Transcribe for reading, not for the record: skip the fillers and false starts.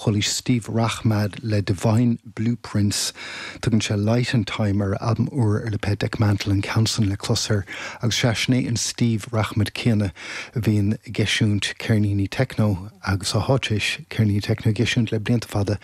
Chualaís Steve Rachmad le Divine Blueprints. Tugann sé Light and Time ar a albam úr ar le pé Dekmantel an ceann san le clos air agus sea, sin é an Steve Rachmad céanna a bhíonn ag eisiúint ceirníní techno agus atá tar éis ceirníní techno a eisiúint le blianta fada.